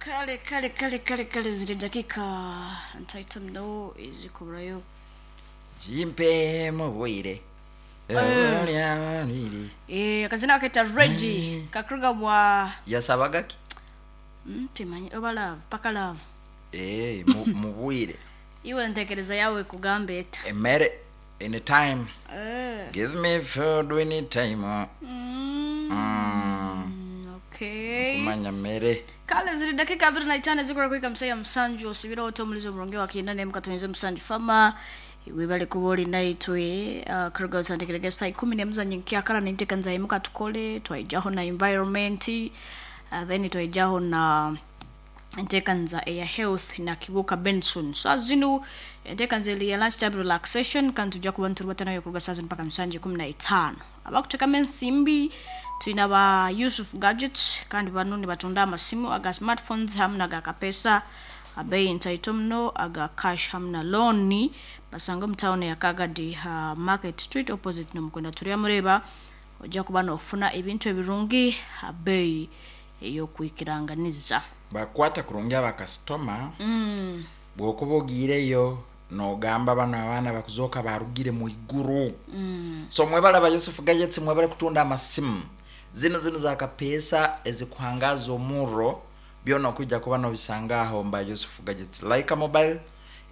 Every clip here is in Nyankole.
Kale kale kale kale kale ziri dakika ntaito muno ezikuburayo. Gimpe mu bwire. Eh, akazina aketa Reggie kakuruga bwa Yasabaga ki? Timanyi oba love paka love. Eh, mu bwire. Iwe ntekereza yawe kugamba eta. Emere anytime. Give me food anytime. Okay. Kumanya mere. Kale ziri dakika 25 zikora kuhika msaya musanju osibira oto omulizo omurungi wa kinda ne mukatonyeze musanju fama webale kuba oli naitwe kuruga otandikirege saa 10 za nyenkyakara nintekanza imuka tukole twaijaho na environment, then twaijaho na entekanza eya health na Kibuka Benson. Saa zinu entekanza eli ya lunch time relaxation kandi tujja kuba niturubatanayo kuruga saa zinu mpaka musanju 15. Abakutekamu ensimbi twina ba Yusuf Gadgets kandi bano nibatunda amasimu aga smartphones hamwe naga kapesa abeyi ntaito muno aga cash hamwe na loan basanga omu town ya Kagadi Market Street opposite nomukwenda turya mureba ojja kuba nofuna ebintu ebirungi abeyi ey'okwikiranganiza. Bakwata kurungi abakasitoma. Bw'okuba ogiireyo nogamba bano abaana bakuzoka barugire mu iguru. So mwebale ba Yusuf Gadgets, mwebale kutunda amasimu zino zino za kapesa ezikuhangaza omurro byona okujja kuba nobisanga aho mba Yusuf Gadgets. Like a mobile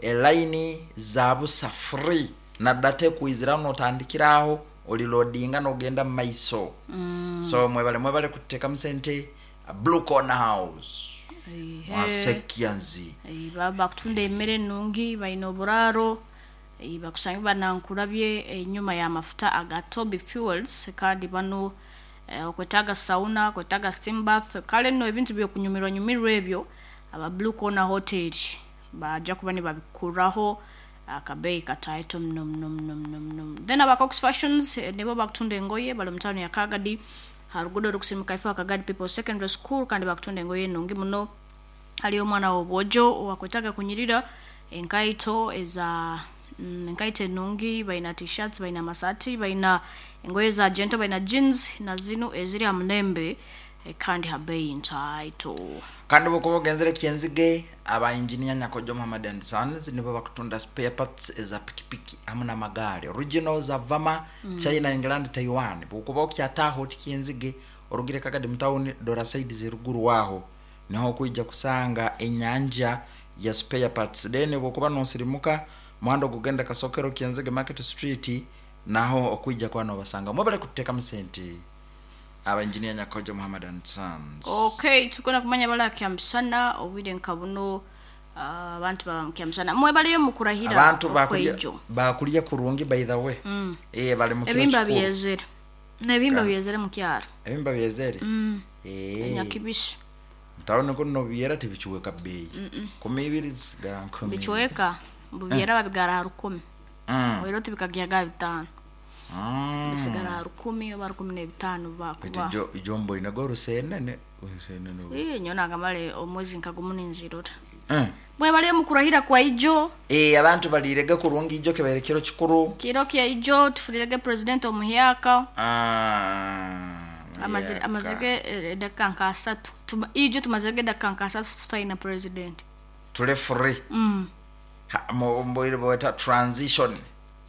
elaini za busa free na data ekuizira notandikiraho oliloadinga nogenda mu maiso. So mwebale mwebale kutekamu sente Blue Corner House. Mwasekianzi. Bakutunda emmere ennungi balina oburaaro, bakusange banankulabye enyuma y'amafuta aga Toby Fuels kandi bano okwetaaga sauna, okwetaaga steam bath, kale nno ebintu by'okunyumirwa nyumirwa ebyo aba Blue Corner Hotel bajja kuba nibabikuraho akabeeyi kataito muno muno muno muno muno. Then aba Cox Fashions nibo bakutunda engoye bali mu town ya Kagadi harugudo rukusimuka ifo Kagadi People Secondary School kandi bakutunda engoye ennungi muno. Haliyo omwana w'obwojo owakwetaaga kunyirira enkaito eza enkaito ennungi, balina t-shirts, balina amasaati, balina engoye za gentle, balina jeans na zino eziri aha mulembe kandi ha beeyi ntaito. Kandi bwokuba ogenzere Kyenzige aba engineer Nyakojo Muhammad and Sons nibo bakutunda spare parts eza pikipiki hamwe n'amagaari original za Vama, China, England, Taiwan. Bwokuba okyataaho oti Kyenzige orugire Kagadi mu town dora side z'eruguru waho niho okwija kusanga enyanja ya spare parts. Then bwokuba nosirimuka muhanda ogugenda Kasokero Kyenzige Market Street naho okwija kuba nobasanga. Mwebale kutekamu sente aba engineer Nyakojo Muhammad and Sons. Okay, tukona kumanya bala kyamusana obwire nka buno abantu baba kyamusana mwebaleyo mukurahira abantu bakulya kurungi by the way. Bali mu kiro ebimba byezere n'ebimba byezere mu kyaro ebimba byezere nyakibishi ntawone ko no byera tibichuweka beyi kumibiri sigara nkumi bichuweka bubyera babigara 10 rero tibikagyaga 5 bisigara 10 oba 15 bakuba ijo ijombo inago rusenene rusenene nyona ngamale omwezi nkagumu ninzirora. Mwebale mukurahira kwa ijo abantu balirega kurungi ijo kebaire kiro kikuru kiro kya ijo tufulirege president omuhyaka amazige dakika nka 3 ijo tumazige dakika nka 3 tutaina president tule free mboire bweta transition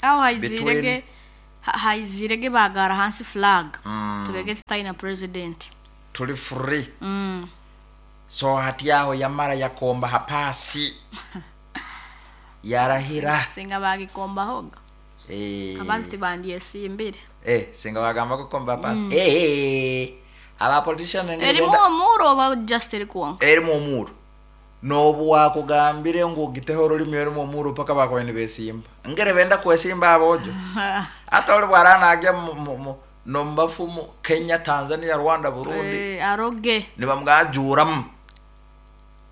aho haizirege haizirege bagara hansi flag tubege tutaina president tuli free so hati yaho yamara yakomba hapasi yarahira singa bagikomba hoga abantu tibandiye simbire singa bagamba kukomba hapasi aba politician erimu omuro ba just erikuonka erimu omuro nobu wakugambire ngu giteho olulimi erimu omuro paka bakwene besimba ngere benda kwesimba abojo ata oli bwarana agya nombafumu Kenya, Tanzania, Rwanda, Burundi aroge nibamwajuramu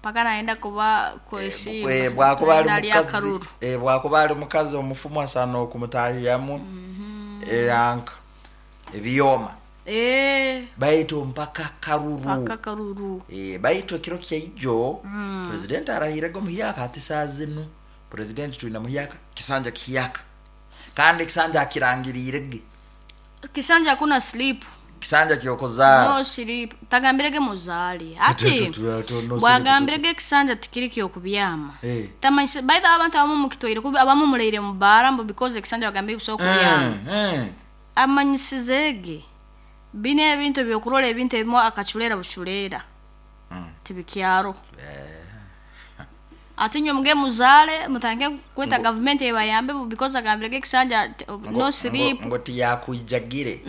paka naenda kuba kwesimba bwakuba ali mukazi bwakuba ali mukazi omufumu asana okumutahiyamu eranka ebiyoma baitu mpaka karuru baitu ekiro kya ijo president arahirego muhyaka ati saa zinu president twina muhyaka kisanja kihiyaka kandi kisanja akirangirirege kisanja hakuna sleep. Kisanja kyokuzaara. No sleep. Tagambirege muzaale. Hati bwagambirege ekisanja tikiri kyokubyama. Eh. Tamanyise by the way abantu abamu mukitwaire kubi abamu muraire mu baara mbu because ekisanja bagambire busaho kubyama. Amanyisize ge binu ebintu ebyokurora ebintu ebimu akaculeera buculeera tibikyaro. Ati inywe muge muzaale mutandike kweta gavumenti ebayambe because agambirege ekisanja no sleep. Ngo tiyakwijagire.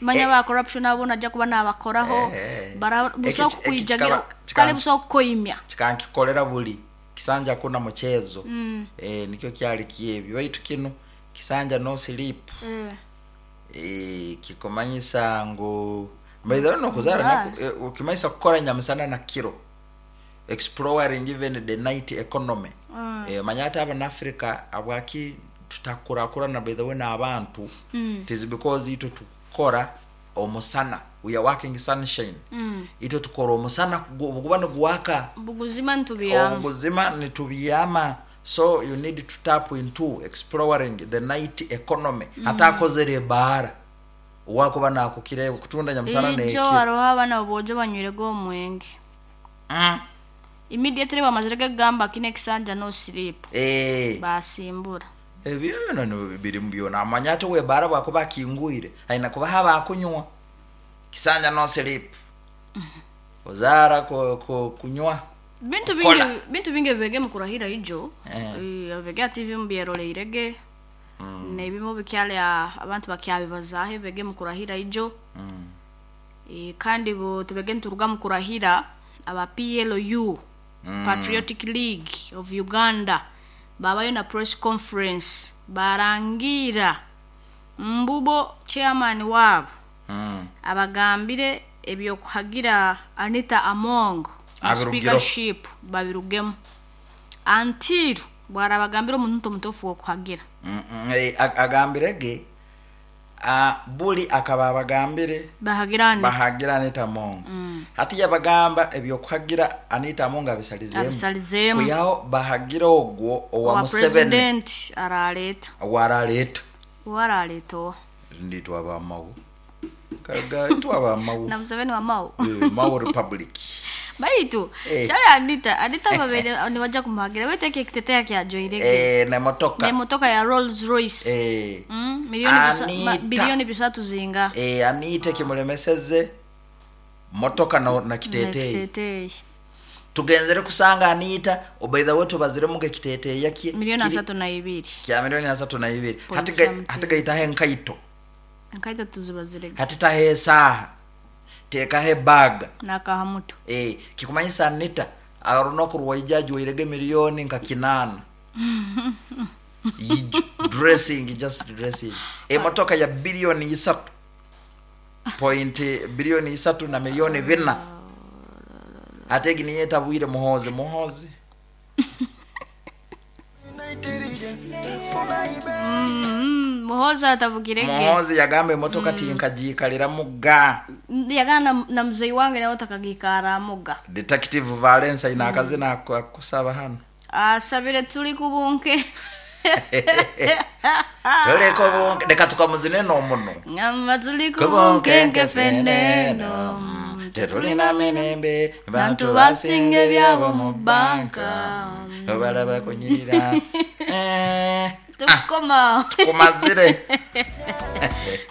Manya Eh. ba corruption abo najja kuba nabakoraho Eh. bara busaho Eki- eki kukwijagira kikaba- kale busaho kukoimya. Kikankikolera buli kisanja kuna muchezo. Nikyo kyali kyebyo baitu kino kisanja no sleep. Kikumanyisa ngu by the way nokuzara Kuzara. ukimanyisa kukora nyamisana na kiro exploring even the night economy. Manya ati abana Africa abwaki tutakurakurana by the way n'abantu. It is because itwe tukora omusana, we are working sunshine. Itwe tukora omusana guba niguwaka. Buguzima nitubyama. Obuguzima nitubyama, so you need to tap into exploring the night economy. Hatakozere ebaara wakuba nakukire kutunda nyamusana Ijo nekiro. hariho abaana bojo banywirege omwenge. Immediately bamazire kugamba kino ekisanja no sleep. Basimbura. Ebyo bino biri mu byona amanya ati webaara bwakuba akingwire aina kuba haba akunywa kisanja no sleep ozaara kunywa Bintu Kukola. bingi bintu bingi bibege mukurahira ijo. Bibege TV mubyeroleirege. Nebimu bikyali abantu bakyabibazaho bibege mukurahira ijo. Kandi bo tubege nituruga mukurahira aba PLU Patriotic League of Uganda babayo na press conference barangira mbubo chairman wabo abagambire ebyokuhagira Anita Among Abirugiro. speakership babirugemu until bwarabagambira omuntu omutuufu wokuhagira. Agambirege buli akaba abagambire bahagira Anita. Bahagira Anita Among. Hati yabagamba ebyokuhagira Anita Among abisalizeemu. Abisalizeemu. Kuyaho bahagira ogwo owa Owa Museveni president araleeta. Waraleeta. Waraleeta owa Nditwa abamawu kaga itwa abamawu. Na Museveni wa Mao. Mao Republic. Baitu Eh. kyali Anita babere nibajja kumuhagira baitu eki ekiteteya kyajoirege Nemotoka. Nemotoka ya Rolls Royce. Milioni Anita. bilioni bisatu zinga. Anita kimulemeseze motoka na kiteteyi. Ekiteteyi. Tugenzere kusanga Anita obaitha we tubaziremu ekiteteeya kye Milioni 32. Kya milioni 32. Point something. Hati gaitaho enkaito. Enkaito tuzibazirege. Hati taho esaaha teekaho ebaga. Nakahamuto. Kikumanyisa Anita arunaku rwaija ajwairege milioni nka 8 Yijo, dressing, just dressing, emotoka ya bilioni isatu point bilioni isatu na milioni bina ate egi niyo etabwire Muhozi Muhozi. Muhozi atabugirege. Muhozi yagamba emotoka tinkagiikaliramu ga. Yagana na mzee wange nawe takagikaramuga. Detective Valence aine akazina akusaba hano. Asabire tuli kubunke. Toleka obunke leka tukamuzine n'omuno. Ngamba tuli kubunkenke feneno. Tetulina mirembe. Bantu basinga ebyabo mu banka. Obalaba kunyirira. Tukoma. Kumazire.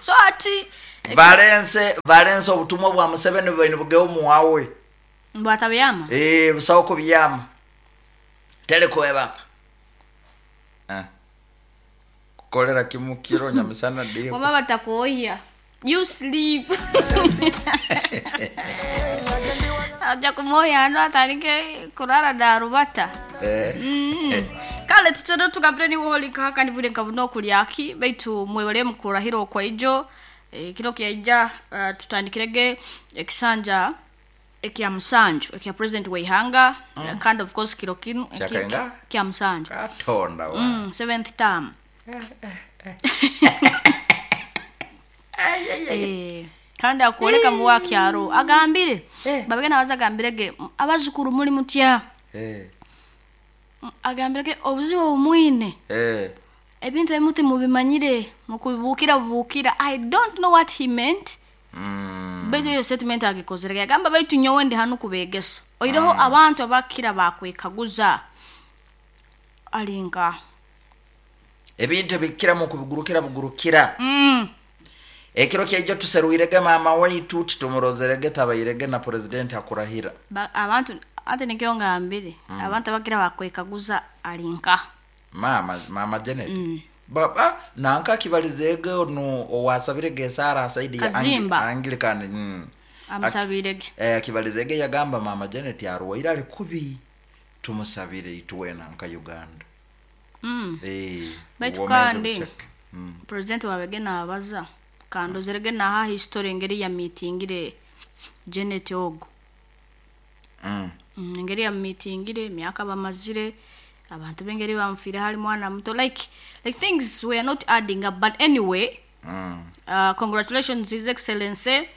So ati Valence Valence obutumwa bwa Museveni bwaine bugeho muwawe. Bwatabyama. Busawo kubyama tele kwebaka. Kukolera kimu kiro nyamisana dio. Waba batakuoya you sleep aja kumoya ano atandike kurara darubata. Kale tutero tugambire niwe holika kandi bure nkabuna okulyaki baitu mwebale mukurahira okwaijo kiro kyaija tutandikirege ekisanja ekya musanju ekya president weihanga. Kandi of course kiro kinu Kyakainga? Kya musanju. Katonda wa. Seventh term. Kandi akwoleka muwa kyaro agambire babege nabaza agambirege abazukuru muri mutya. Agambirege obuzibu obumwine ebintu ebimu timubimanyire mukubibukira bubukira. I don't know what he meant. Baitu eyo statement agikozere yagamba baitu nyowe ndi hanu kubegesa. Oireho abantu abakira bakwekaguza alinka. Ebintu ebikiramu kubigurukira bugurukira. Ekiro kyaijo tuseruirege maama waitu titumurozerege tabairege na president akurahira. Abantu ate nikyo ngambire abantu abakira bakwekaguza alinka. Mama mama Janet. Baba nanka kibalizege onu owasabirege Sara saidi ya Kazimba. Anglican. Amusabirege. Kibalizege yagamba mama Janet arwaire ali kubi tumusabire itwena nka Uganda. Baitu Obwomeezi kandi bucheke. President wabege nabaza kandozerege naha history engeri ya meetingire Janet ogo. Engeri ya meetingire emyaka bamazire abantu bengeri bamfire hali mwana muto like things were not adding up, but anyway congratulations His Excellency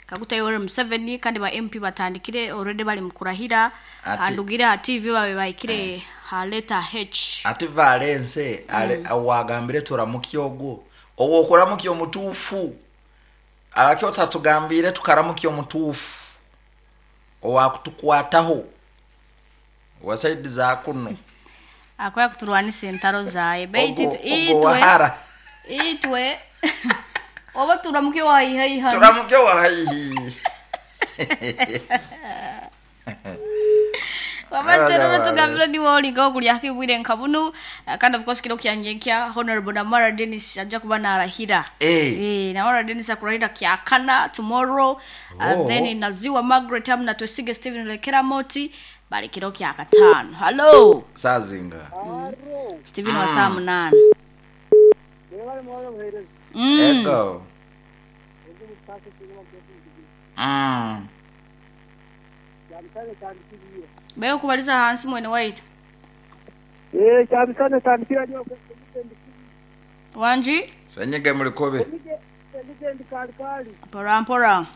Kaguta Yoweri Museveni kandi ba MP batandikire already bali mukurahira andugire ha TV babe baikire ha letter H ati Valence wagambire turamuki ogwo owo okuramuki omutuufu abakyo tatugambire tukaramuki omutuufu owakutukwataho wasaidi za kuno akwaya kuturwanisa entaro zaye baitu ogwo wahara itwe oba turamuke waihaiha turamuke wahaihi wabaterero tugambire niwe olinga okulya kibwire nkabunu kandi of course kiro kyanyenkya Honorable Namara Dennis ajja kuba narahira. Namara Dennis akurahira kyakana tomorrow. Then Naziwa Margaret hamna Twesige Steven Lekera Moti bali kiro kyakatano. Hello Sazinga. Steven wa saa 8. Ego. Bayo kubaliza hansi mwene waitu. Cyabisane tandikira nyo. Wanji? Senyege mulikobe. Senyege kali kali. Pora mpora.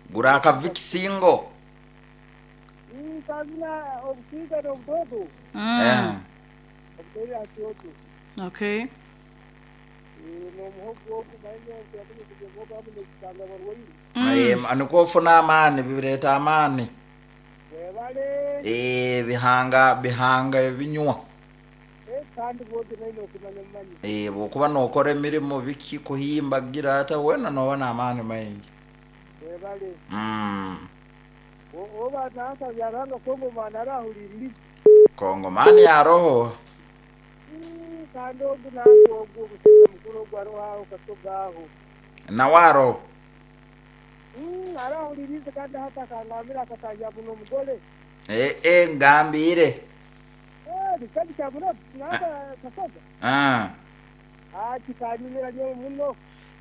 Guraka vikisingo. Kazina obusiga n'obudodo. Okay. Anikofuna amani bibireta amani. Bihanga bihanga ebinywa. Bwokuba nokora emirimu biki kuhimba gira ata wena nobona amani maingi. Kongo mani ya roho. Na waro. Ngambire.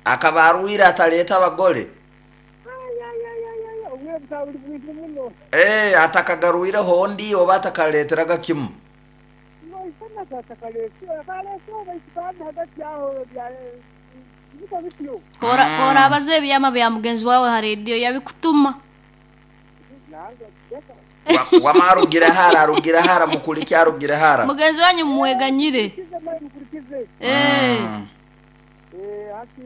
Akabaruira ataleta abagore. Atakagaruira hondi oba atakaleteraga kimu. Kora abaze ebyama bya mugenzi wawe ha radio yabikutuma. Wamarugira hara rugira hara mukuliki arugira hara. Mugenzi wanyu mweganyire. Hati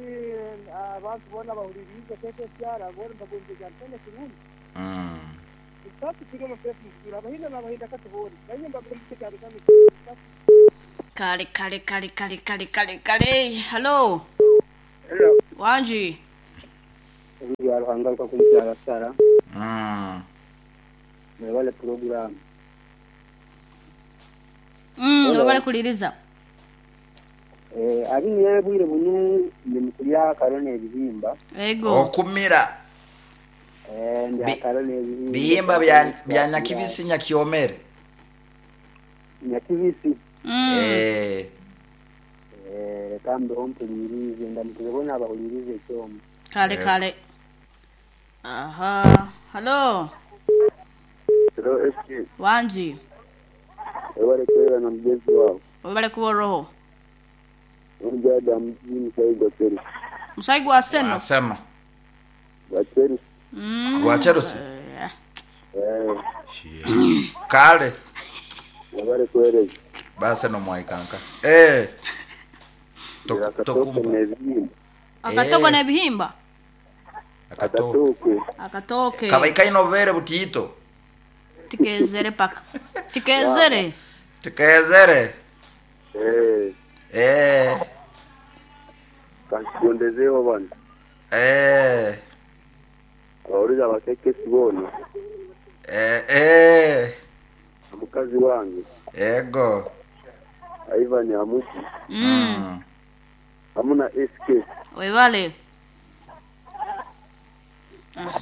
abantu bona bahuririze keke cyara bona bagonze cyane kirungi. Kale kale kale kale kale kale kale. Hello. Hello. Wanji. Ruhangaruka kumukyala Sara. Mwebale program. Mwebale kuliriza. Abi yebwire bunu nimukulya karone ebihimba. Ego. Okumira. Ndi akarone ebihimba. Bihimba bya nyakibisi nyakiomere. Nyakibisi. Kambe ompulirize ndamukubona abahulirize ekyomo. Kale kale. Aha. Hello. Hello SK. Wanji. Wale kwera na mgezi wao. Wale kuwa roho. Mjada mjini Musaigo Chelsea. Musaigo Arsenal. Asema. Wa Chelsea. Wa Chelsea. Kale. Wale kwera. Basi no mwaikanka. Tokumpa. Akatogo na bihimba. Akatooke. Akatooke. Akatooke. Kabai kaine obubeere butiito. Tikezere paka. Tikezere. Tikezere. Eh, Eh. kankigondezeho bano. Eh. Abawuliza abakekesi boona. Eh. Eh. Omukazi wange Ego. Ivan Amusi hamu na SK. Webale.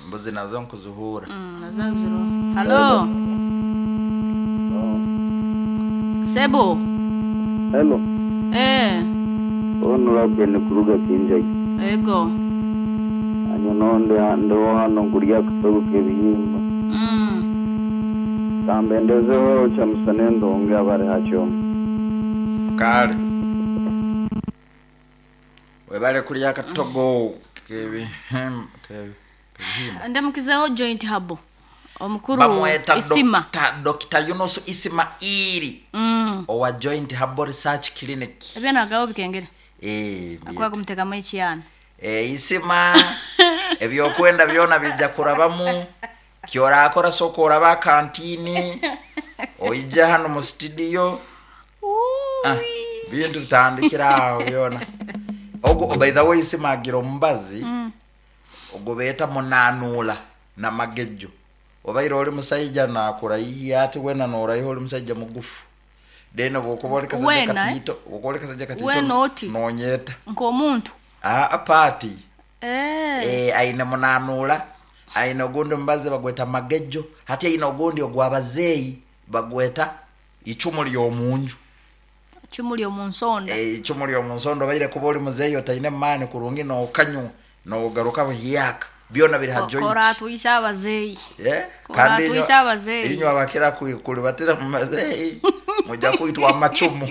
Mbuzi nazo nkuzuhura. Nazaziro. Halo. Sebo. Hello. Eh. Honorable Nkuruga Kinjai. Ego. Anya nonde ndo hano nkurya kutogo kebihimba. Kambendezeho chamusane ndonge abari hacho. Kale. Webale kulya akatogo kebihimba. Kebihimba. Ndamukizeho joint habo. Omukuru Bamweta Isima. Dr. Yunus Ismaili. Owa Joint Herbal Research Clinic. Ebyanagaho bikengere. Eh. Akwa kumutekamu ekiyana. Eh, Isima ebyokwenda byona bijja kurabamu kyorakora soka oraba kantini oija hano mu studio ah, bintu tutandikira aho byona ogo by the way Isima agira omubazi ogwo beeta munanuula na magejo obaire oli musaija nakurayiya ati wena norayiha oli musaija mugufu then bwokuba oli kasajja Wena, eh? katiito bwokuba oli kasajja katiito Wena oti? nonyeta Nk'omuntu. ah, paati Eh. Eh, aine munanuula aine ogundi omubazi bagweta magejo hati aine ogundi ogwabazeeyi bagweta icumu lyomunju. Chumuli omunsonda. Eh, icumu lyomunsondo obaire kuba oli muzeeyi otaine maani kurungi nokanywa nogaruka buhiyaka byona biri ha joint. Koratwisa abazeeyi. Eh, Kora kandi twise abazeeyi. inywe abakira kulibatira mu mazeeyi mujja kwitwa amacumu.